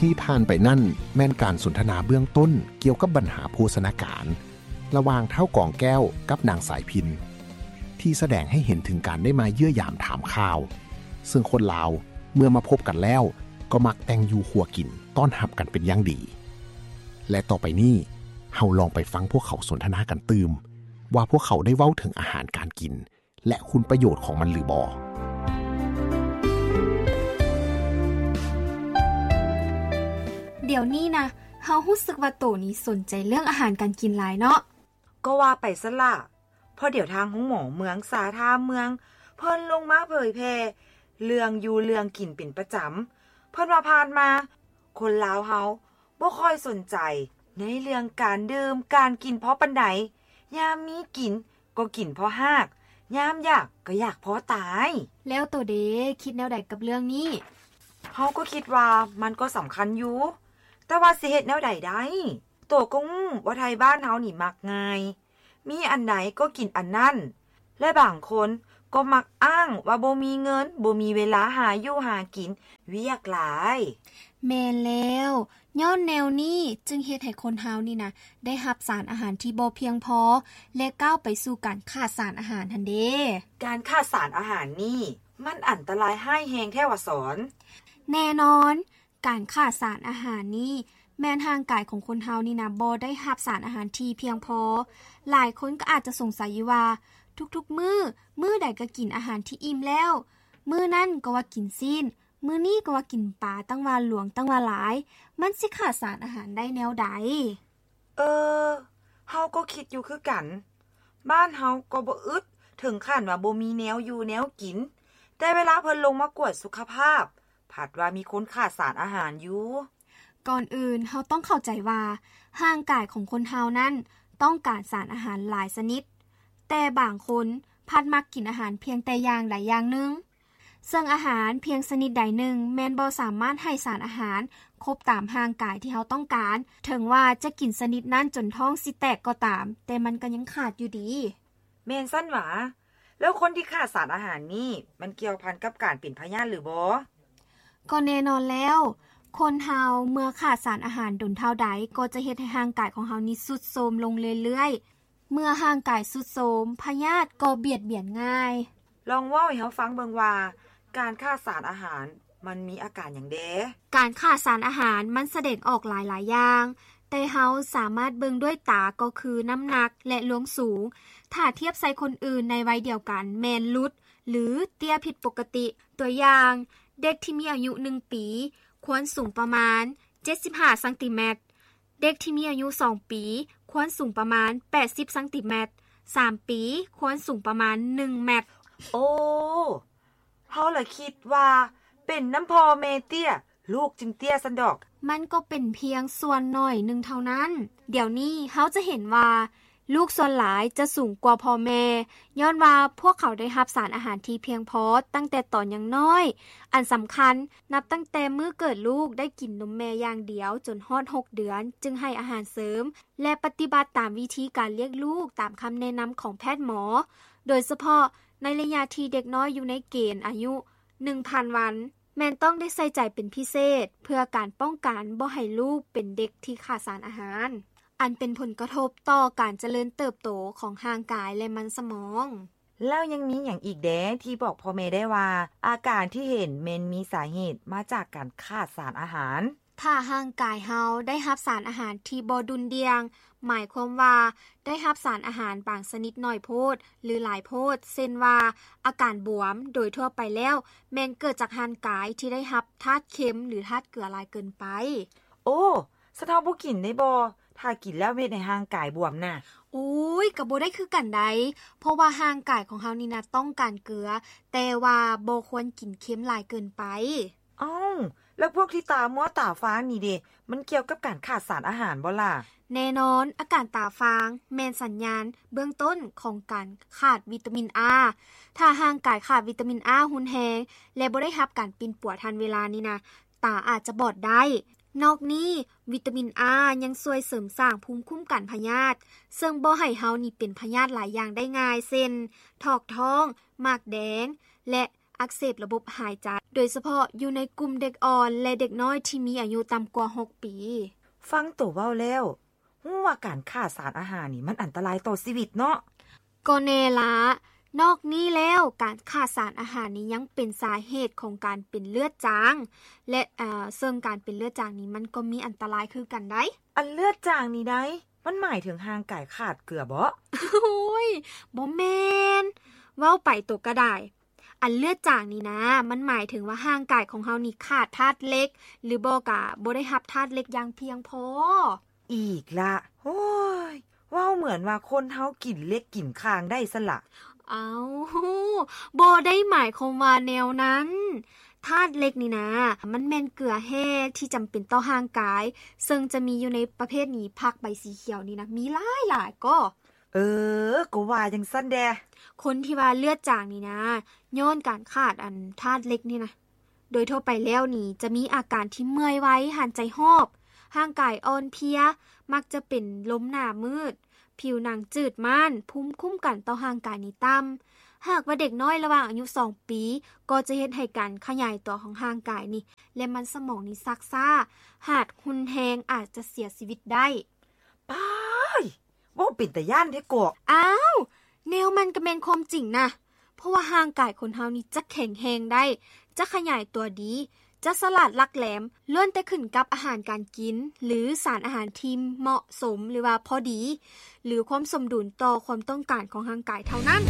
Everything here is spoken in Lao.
ທີ່ຜ່ານໄປນັ້ນແມ່ນການສົນທະນາເບື້ອງຕົ້ນກ່ຽວກັບບັນຫາໂພຊະນາການ ລະຫວ່າງທ້າວກອງແກ້ວກັບນາງສາຍພິນ ທີ່ສະແດງໃຫ້ເຫັນເຖິງການໄດ້ມາເຢ້ຍມຢາມຖາມຂ່າວ, ເຊິ່ງຄົນລາວເມື່ອມາພົບກັນແລ້ວ ກໍມັກແຕ່ງຢູ່ຄົວກິນຕ້ອນຮັບກັນເປັນຢ່າງດີ. ແລະຕໍ່ໄປນີ້ ເຮົາລອງໄປຟັງພວກເຂົາສົນທະນາກັນຕື່ມ ວ່າພວກເຂົາໄດ້ເວົ້າເຖິງອາຫານການກິນ ແລະຄຸນປະໂຫຍດຂອງມັນຫຼືບໍ່. ດຽວນີ້ນະ ເຮົາຮູ້ສຶກວ່າໂຕນີ້ສົນໃຈເລື່ອງອາຫານການກິນຫຼາຍເນາະ. ກໍວ່າໄປຊັ້ນລະ ເພາະດຽວທາງໂຮງໝໍເມືອງສາທ່າເມືອງ ເພິ່ນລົງມາເຜີຍແຜ່ເລື່ອງຢູ່ເລື່ອງກິນເປັນປະຈຳ. ເພິ່ນວ່າຜ່ານມາ ຄົນລາວເຮົາບໍ່ຄ່ອຍສົນໃຈໃນເລື່ອງການດື່ມການກິນພໍປານໃດ, ຍາມມີກິນກໍກິນພໍຮາກ, ຍາມຢາກກໍຢາກພໍຕາຍ. ແລ້ວໂຕເດ ຄິດແນວໃດກັບເລື່ອງນີ້? ເຮົາກໍຄິດວ່າມັນກໍສຳຄັນຢູ່, ແຕ່ວ່າຊິເຮັດແນວໃດໄດ້? ໂຕກໍຮູ້ວ່າໄທບ້ານເຮົານີ້ມັກງ່າຍ, ມີອັນໃດກໍກິນອັນນັ້ນ ແລະບາງຄົນກໍມັກອ້າງວ່າບໍ່ມີເງິນ, ບໍ່ມີເວລາຫາຢູ່ຫາກິນ, ວຽກຫຼາຍ. ແມ່ນແລ້ວ, ຍ້ອນແນວນີ້ຈຶ່ງເຮັດໃຫ້ຄົນເຮົານີ້ນະ ໄດ້ຮັບສານອາຫານທີ່ບໍ່ພຽງພໍ ແລະກ້າວໄປສູ່ການຂາດສານອາຫານຫັ້ນເດ. ການຂາດສານອາຫານນີ້ ມັນອັນຕະລາຍຮ້າຍແຮງແທ້ຫວາສອນ? ແນ່ນອນ, ການຂາດສານອາຫານນີ້ ແມ່ນຮ່າງກາຍຂອງຄົນເຮົານີ້ນະ ບໍ່ໄດ້ຮັບສານອາຫານທີ່ພຽງພໍ. ຫຼາຍຄົນກໍອາດຈະສົງໄສຢູ່ວ່າ ທຸກໆມື້ ມື້ໃດກໍກິນອາຫານທີ່ອີ່ມແລ້ວ, ມື້ນັ້ນກໍວ່າກິນຊີ້ນ, ມື້ນີ້ກໍວ່າກິນປາ ຕັ້ງວ່າຫຼວງ ຕັ້ງວ່າຫຼາຍ, ມັນຊິຂາດສານອາຫານໄດ້ແນວໃດ? ເອີ, ເຮົາກໍຄິດຢູ່ຄືກັນ. ບ້ານເຮົາກໍບໍ່ອຶດເຖິງຂັ້ນວ່າບໍ່ມີແນວຢູ່ແນວກິນ, ແຕ່ເວລາເພິ່ນລົງມາກວດສຸຂະພາບ ພັດວ່າມີຄົນຂາດສານອາຫານຢູ່. ກ່ອນອື່ນເຮົາຕ້ອງເຂົ້າໃຈວ່າ ຮ່າງກາຍຂອງຄົນເຮົານັ້ນຕ້ອງການສານອາຫານຫຼາຍຊະນິດ, ແຕ່ບາງຄົນພັດມັກກິນອາຫານພຽງແຕ່ຢ່າງໃດຢ່າງໜຶ່ງ. ເຊິ່ງອາຫານພຽງຊະນິດໃດໜຶ່ງແມ່ນບໍ່ສາມາດໃຫ້ສານອາຫານຄົບຕາມຮ່າງກາຍທີ່ເຮົາຕ້ອງການ, ເຖິງວ່າຈະກິນຊະນິດນັ້ນຈົນທ້ອງຊິແຕກກໍຕາມ, ແຕ່ມັນກໍຍັງຂາດຢູ່ດີ. ແມ່ນຊັ້ນຫວາ? ແລ້ວຄົນທີ່ຂາດສານອາຫານນີ້ ມັນກ່ຽວພັນກັບການເປັນພະຍາດຫຼືບໍ່? ກໍແນ່ນອນແລ້ວ, ຄົນເຮົາເມື່ອຂາດສານອາຫານດົນເທົ່າໃດ ກໍຈະເຮັດໃຫ້ຮ່າງກາຍຂອງເຮົານີ້ຊຸດໂຊມລົງເລື້ອຍໆ. ເມື່ອຮ່າງກາຍຊຸດໂຊມ, ພະຍາດກໍບຽດບຽນງ່າຍ. ລອງເວົ້າໃຫ້ເຮົາຟັງເບິ່ງວ່າ ການຂາດສານອາຫານມັນມີອາການຫຍັງແດ່? ການຂາດສານອາຫານມັນສະແດງອອກຫຼາຍໆຢ່າງ, ແຕ່ເຮົາສາມາດເບິ່ງດ້ວຍຕາກໍຄືນ້ຳໜັກ ແລະ ລວງສູງ. ຖ້າທຽບໃສ່ຄົນອື່ນໃນໄວດຽວກັນແມ່ນຫຼຸດ ຫຼື ເຕ້ຍຜິດປົກກະຕິ. ຕົວຢ່າງ, ເດັກທີ່ມີອາຍຸໜຶ່ງປີ ຄວນສູງປະມານເຈັດສິບຫ້າຊັງຕີແມັດ, ເດັກທີ່ມີອາຍຸສອງປີ ຄວນສູງປະມານແປດສິບຊັງຕີແມັດ, ສາມປີ ຄວນສູງປະມານໜຶ່ງແມັດ. ໂອ້, ເຮົາລະຄິດວ່າເປັນນຳພໍ່ແມ່ເຕ້ຍ ລູກຈຶ່ງເຕ້ຍຊັ້ນດອກ. ມັນກໍເປັນພຽງສ່ວນໜ້ອຍໜຶ່ງເທົ່ານັ້ນ. ດຽວນີ້ເຮົາຈະເຫັນວ່າ ລູກສ່ວນຫຼາຍຈະສູງກວ່າພໍ່ແມ່ ຍ້ອນວ່າພວກເຂົາໄດ້ຮັບສານອາຫານທີ່ພຽງພໍຕັ້ງແຕ່ຕອນຍັງນ້ອຍ. ອັນສຳຄັນ, ນັບຕັ້ງແຕ່ມື້ເກີດລູກໄດ້ກິນນົມແມ່ຢ່າງດຽວຈົນຮອດຫົກເດືອນ ຈຶ່ງໃຫ້ອາຫານເສີມ ແລະ ປະຕິບັດຕາມວິທີການລ້ຽງລູກຕາມຄຳແນະນຳຂອງແພດໝໍ, ໂດຍສະເພາະໃນໄລຍະທີ່ເດັກນ້ອຍຢູ່ໃນເກນອາຍຸໜຶ່ງພັນວັນ. ແມ່ນຕ້ອງໄດ້ໃສ່ໃຈເປັນພິເສດ ເພື່ອການປ້ອງກັນບໍ່ໃຫ້ລູກເປັນເດັກທີ່ຂາດສານອາຫານ, ອັນເປັນຜົນກະທົບຕໍ່ການຈະເລີນເຕີບໂຕຂອງຮ່າງກາຍ ແລະ ມັນສະໝອງ. ແລ້ວຍັງມີຫຍັງອີກແດ່ທີ່ບອກພໍ່ແມ່ໄດ້ວ່າ ອາການທີ່ເຫັນແມ່ນມີສາເຫດມາຈາກການຂາດສານອາຫານ? ຖ້າຮ່າງກາຍເຮົາໄດ້ຮັບສານອາຫານທີ່ບໍ່ດຸ່ນດ່ຽງ, ໝາຍຄວາມວ່າໄດ້ຮັບສານອາຫານບາງຊະນິດໜ້ອຍໂພດ ຫຼື ຫຼາຍໂພດ, ເຊັ່ນວ່າ ອາການບວມ ໂດຍທົ່ວໄປແລ້ວ ແມ່ນເກີດຈາກຮ່າງກາຍທີ່ໄດ້ຮັບທາດເຄັມ ຫຼື ທາດເກືອຫຼາຍເກີນໄປ. ໂອ້, ຊັ້ນເຮົາບໍ່ກິນໄດ້ບໍ່? ຖ້າກິນແລ້ວເຮັດໃຫ້ຮ່າງກາຍບວມນະ. ໂອ້ຍ, ກໍບໍ່ໄດ້ຄືກັນໃດ, ເພາະວ່າຮ່າງກາຍຂອງເຮົານີ້ນະຕ້ອງການເກືອ, ແຕ່ວ່າບໍ່ຄວນກິນເຄັມຫຼາຍເກີນໄປ. ອ້າວ, ແລ້ວພວກທີ່ຕາມົວຕາຟາງນີ້ເດ, ມັນກ່ຽວກັບການຂາດສານອາຫານບໍ່ລະ? ແນ່ນອນ, ອາການຕາຟາງແມ່ນສັນຍານເບື້ອງຕົ້ນຂອງການຂາດວິຕາມິນ A. ຖ້າຮ່າງກາຍຂາດວິຕາມິນ A ຮຸນແຮງ ແລະ ບໍ່ໄດ້ຮັບການປິ່ນປົວທັນເວລານີ້ນະ, ຕາອາດຈະບອດໄດ້. ນອກນີ້, ວິຕາມິນ A ຍັງຊ່ວຍເສີມສ້າງພູມຄຸ້ມກັນພະຍາດ, ເຊິ່ງບໍ່ໃຫ້ເຮົານີ້ເປັນພະຍາດຫຼາຍຢ່າງໄດ້ງ່າຍ, ເຊັ່ນ ຖອກທ້ອງ, ໝາກແດງ ແລະ ອັກເສບລະບົບຫາຍໃຈ, ໂດຍສະເພາະຢູ່ໃນກຸ່ມເດັກອ່ອນ ແລະ ເດັກນ້ອຍທີ່ມີອາຍຸຕ່ຳກວ່າຫົກປີ. ຟັງໂຕເວົ້າແລ້ວ ຮູ້ວ່າການຂາດສານອາຫານນີ້ມັນອັນຕະລາຍຕໍ່ຊີວິດເນາະ. ກໍແນ່ລະ. ນອກນີ້ແລ້ວ ການຂາດສານອາຫານນີ້ຍັງເປັນສາເຫດຂອງການເປັນເລືອດຈາງ ແລະ ເຊິ່ງການເປັນເລືອດຈາງນີ້ມັນກໍມີອັນຕະລາຍຄືກັນໃດ໋. ອັນເລືອດຈາງນີ້ໃດ໋ ມັນໝາຍເຖິງຮ່າງກາຍຂາດເກືອບໍ? ໂອ້ຍ ບໍ່ແມ່ນ. ເວົ້າໄປໂຕກໍໄດ້. ອັນເລືອດຈາງນີ້ນະ ມັນໝາຍເຖິງວ່າຮ່າງກາຍຂອງເຮົານີ້ຂາດທາດເຫຼັກ ຫຼືບໍ່ກະບໍ່ໄດ້ຮັບທາດເຫຼັກຢ່າງພຽງພໍ. ອີກລະ. ໂອ້ຍ ເວົ້າເໝືອນວ່າຄົນເຮົາກິນເຫຼັກກິນຂ່າງໄດ້ຊັ້ນລະ. ເອົ້າ ບໍ່ໄດ້ໝາຍຄວາມວ່າແນວນັ້ນ. ທາດເຫຼັກນີ້ນະ ມັນແມ່ນເກືອແຮ່ທີ່ຈຳເປັນຕໍ່ຮ່າງກາຍ, ເຊິ່ງຈະມີຢູ່ໃນປະເພດນີ້ ຜັກໃບສີຂຽວນີ້ນະ ມີຫຼາຍໆກໍ. ເອີ ກໍວ່າຈັ່ງຊັ້ນແດ່. ຄົນທີ່ວ່າເລືອດຈາງນີ້ນະ ຍ້ອນການຂາດອັນທາດເຫຼັກນີ້ນະ. ໂດຍທົ່ວໄປແລ້ວນີ້ ຈະມີອາການທີ່ເມື່ອຍໄວ, ຫັນໃຈຫອບ, ຮ່າງກາຍອ່ອນເພຍ, ມັກຈະເປັນລົມໜ້າມືດ, ຜິວໜັງຈືດມ້ານ, ພູມຄຸ້ມກັນຕໍ່ຮ່າງກາຍນີ້ຕ່ຳ. ຫາກວ່າເດັກນ້ອຍລະຫວ່າງອາຍຸສອງປີ ກໍຈະເຮັດໃຫ້ການຂະຫຍາຍຕົວຂອງຮ່າງກາຍນີ້ ແລະ ມັນສະໝອງນີ້ຊັກຊ້າ, ຫາກຮຸນແຮງອາດຈະເສຍຊີວິດໄດ້. ປ້າຍ! ເວົ້າເປັນຕາຢ້ານແທ້ເກາະ. ອ້າວ! ແນວມັນກໍແມ່ນຄວາມຈິງນະ, ເພາະວ່າຮ່າງກາຍຄົນເຮົານີ້ຈະແຂງແຮງໄດ້, ຈະຂະຫຍາຍຕົວດີ, ຈະສະຫຼາດຫຼັກແຫຼມ, ລ້ວນແຕ່ຂຶ້ນກັບອາຫານການກິນ ຫຼື ສານອາຫານທີ່ເໝາະສົມ ຫຼືວ່າພໍດີ ຫຼືຄວາມສົມດຸນຕໍ່ຄວາມຕ້ອງການຂອງຮ່າງກາຍເທົ່ານັ້ນ.